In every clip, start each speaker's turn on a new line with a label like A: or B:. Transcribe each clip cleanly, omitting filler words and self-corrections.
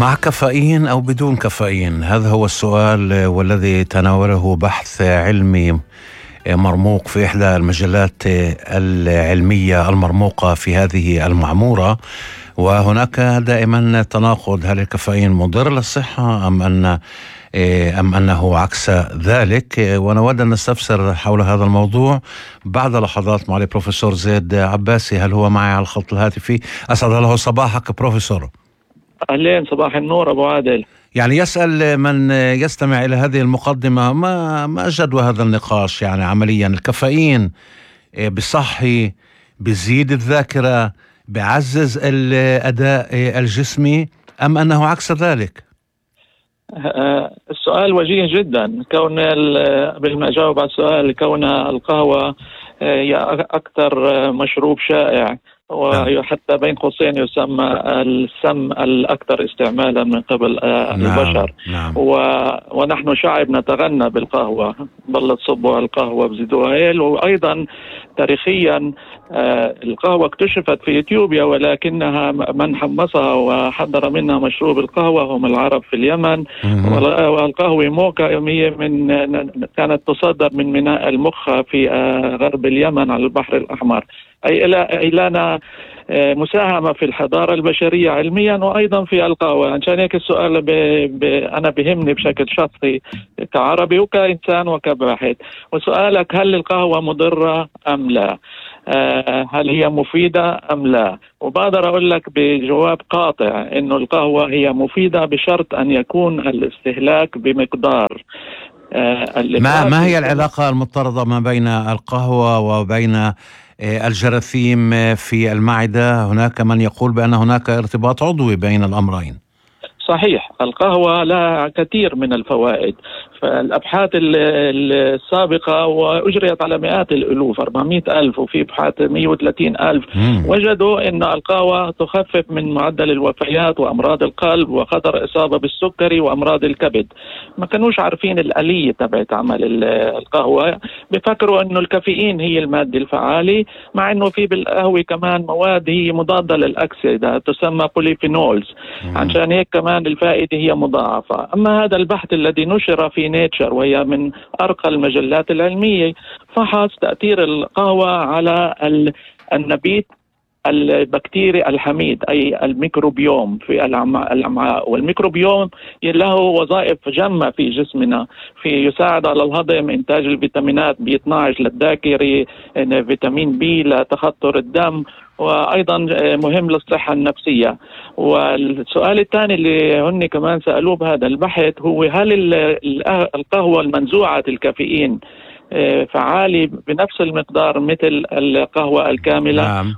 A: مع كافيين أو بدون كافيين؟ هذا هو السؤال والذي تناوله بحث علمي مرموق في إحدى المجلات العلمية المرموقة في هذه المعمورة، وهناك دائما تناقض: هل الكافيين مضر للصحة أم أنه عكس ذلك؟ ونود أن نستفسر حول هذا الموضوع بعد لحظات مع البروفيسور زيد عباسي. هل هو معي على الخط الهاتفي؟ أسعد الله صباحك بروفيسور.
B: أهلين، صباح النور أبو عادل.
A: يعني يسأل من يستمع إلى هذه المقدمة ما جدوى هذا النقاش؟ يعني عمليا الكافيين بصحي، بزيد الذاكرة، بعزز الأداء الجسمي، أم أنه عكس ذلك؟
B: السؤال وجيه جدا. قبل ما أجاوب على السؤال، كون القهوة هي أكثر مشروب شائع وحتى بين قوسين يسمى السم الأكثر استعمالا من قبل البشر.
A: نعم.
B: ونحن شعب نتغنى بالقهوة، ضلت صبوا القهوة بزيدوها هيل. وأيضا تاريخيا القهوة اكتشفت في إثيوبيا، ولكنها من حمصها وحضر منها مشروب القهوة هم العرب في اليمن. والقهوة موكا كانت تصدر من ميناء المخا في غرب اليمن على البحر الأحمر، أي لنا مساهمة في الحضارة البشرية علميا وأيضا في القهوة. عشان هيك السؤال أنا بهمني بشكل شخصي كعربي وكإنسان وكباحث. وسؤالك هل القهوة مضرة أم لا؟ هل هي مفيدة أم لا؟ وبقدر أقول لك بجواب قاطع إنه القهوة هي مفيدة بشرط أن يكون الاستهلاك بمقدار.
A: ما هي العلاقة المضطردة ما بين القهوة وبين الجراثيم في المعدة؟ هناك من يقول بأن هناك ارتباط عضوي بين الأمرين.
B: صحيح، القهوة لها كثير من الفوائد. فالأبحاث السابقة وأجريت على مئات الألوف، 400,000 وفي أبحاث 130,000، وجدوا أن القهوة تخفف من معدل الوفيات وأمراض القلب وخطر إصابة بالسكري وأمراض الكبد. ما كانوش عارفين الآلية تبعت عمل القهوة، بفكروا أنه الكافيين هي المادة الفعالة، مع أنه في بالقهوة كمان مواد هي مضادة للأكسدة تسمى بوليفينولز. عشان هيك كمان الفائدة هي مضاعفة. أما هذا البحث الذي نشر في نيتشر، وهي من أرقى المجلات العلمية، فحص تأثير القهوة على النبيت البكتيري الحميد، أي الميكروبيوم في الأمعاء. والميكروبيوم له وظائف جمة في جسمنا، يساعد على الهضم، إنتاج الفيتامينات B12 للذاكرة، فيتامين B لتخثر الدم، وأيضا مهم للصحة النفسية. والسؤال الثاني اللي هن كمان سألوه بهذا البحث هو هل القهوة المنزوعة الكافيين فعالي بنفس المقدار مثل القهوة الكاملة؟
A: نعم.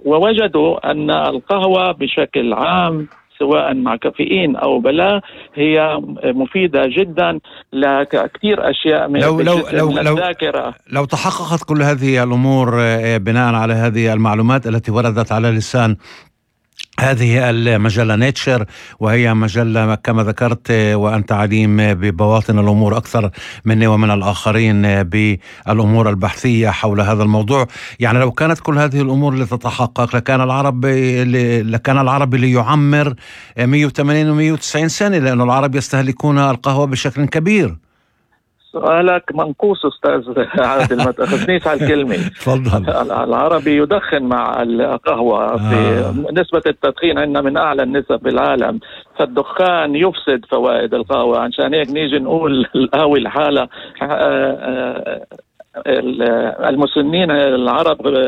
B: ووجدوا أن القهوة بشكل عام سواء مع كافيين أو بلا هي مفيدة جدا لكثير أشياء من الذاكرة.
A: لو تحققت كل هذه الأمور بناء على هذه المعلومات التي وردت على لسان هذه المجلة نيتشر، وهي مجلة كما ذكرت وأنت عليم ببواطن الأمور أكثر مني ومن الآخرين بالأمور البحثية حول هذا الموضوع، يعني لو كانت كل هذه الأمور لتتحقق لكان العربي ليعمر 180 و190 سنة، لأن العرب يستهلكون القهوة بشكل كبير.
B: سؤالك منقوص أستاذ عادل، ما تأخذنيش على الكلمة.
A: تفضل.
B: العربي يدخن مع القهوة. في نسبة التدخين عندنا من أعلى النسب في العالم، فالدخان يفسد فوائد القهوة. عشان هيك نيجي نقول القهوة الحالة المسنين العرب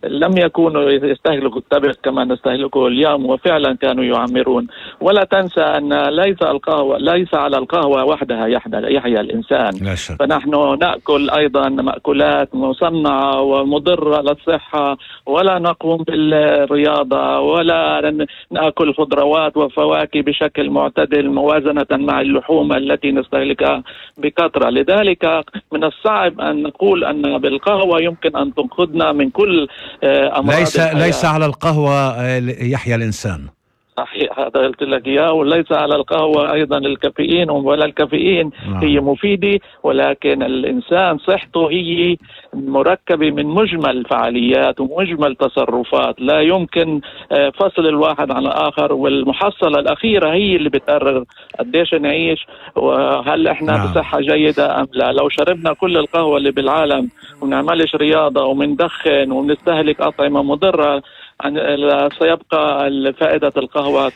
B: لم يكونوا يستهلكوا التبغ كما نستهلكه اليوم، وفعلا كانوا يعمرون. ولا تنسى أن ليس على القهوة وحدها يحيا الإنسان، فنحن نأكل أيضا مأكولات مصنعة ومضرة للصحة، ولا نقوم بالرياضة، ولا نأكل خضروات وفواكه بشكل معتدل موازنة مع اللحوم التي نستهلكها بكثرة. لذلك من الصعب أن نقول أن بالقهوة يمكن أن تنقذنا من كل أمراض
A: ليس على القهوة يحيا الإنسان.
B: صحيح، هذا قلت لك إياه. وليس على القهوة أيضا الكافيين، ولا الكافيين هي مفيدة، ولكن الإنسان صحته هي مركبة من مجمل فعاليات ومجمل تصرفات، لا يمكن فصل الواحد عن الآخر، والمحصلة الأخيرة هي اللي بتقرر قديش نعيش وهل إحنا بصحة جيدة أم لا. لو شربنا كل القهوة اللي بالعالم ونعملش رياضة ومندخن ومنستهلك أطعمة مضرة، سيبقى فائدة القهوة.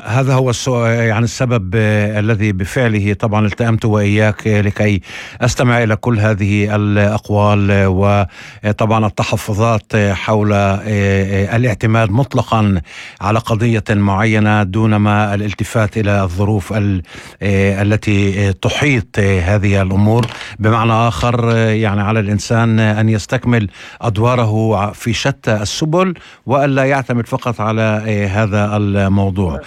A: هذا هو يعني السبب الذي بفعله طبعا التأمت وإياك لكي أستمع إلى كل هذه الأقوال، وطبعا التحفظات حول الاعتماد مطلقا على قضية معينة دون ما الالتفات إلى الظروف التي تحيط هذه الأمور. بمعنى آخر يعني على الإنسان أن يستكمل أدواره في شتى السبل وألا يعتمد فقط على هذا الموضوع.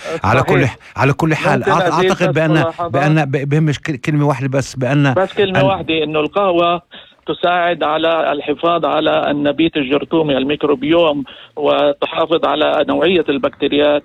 A: على كل حال أعتقد بأن بهمش كلمة واحدة بس
B: كلمة واحدة، إنه القهوة تساعد على الحفاظ على النبيت الجرثومي الميكروبيوم، وتحافظ على نوعية البكتيريات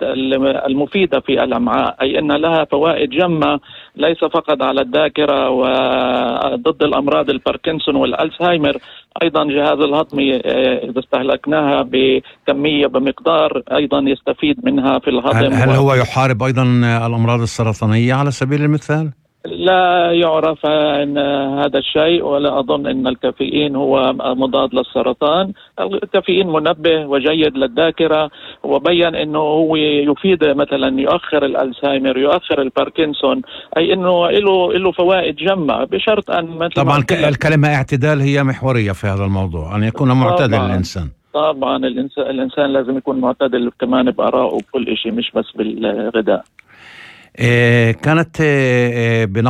B: المفيدة في الأمعاء، أي أن لها فوائد جمة ليس فقط على الذاكرة وضد الأمراض الباركنسون والألزهايمر. أيضا جهاز الهضمي إذا استهلكناها بكمية بمقدار أيضا يستفيد منها في الهضم.
A: هل هو يحارب أيضا الأمراض السرطانية على سبيل المثال؟
B: لا يعرف أن هذا الشيء، ولا أظن أن الكافيين هو مضاد للسرطان. الكافيين منبه وجيد للذاكرة، وبين أنه هو يفيد مثلا يؤخر الألزهايمر، يؤخر الباركنسون، أي أنه له فوائد جمة، بشرط أن مثلا
A: طبعا الكلمة اعتدال هي محورية في هذا الموضوع، أن يكون معتدل الإنسان. طبعا
B: الإنسان لازم يكون معتدل كمان بآرائه وكل شيء، مش بس بالغذاء.
A: كانت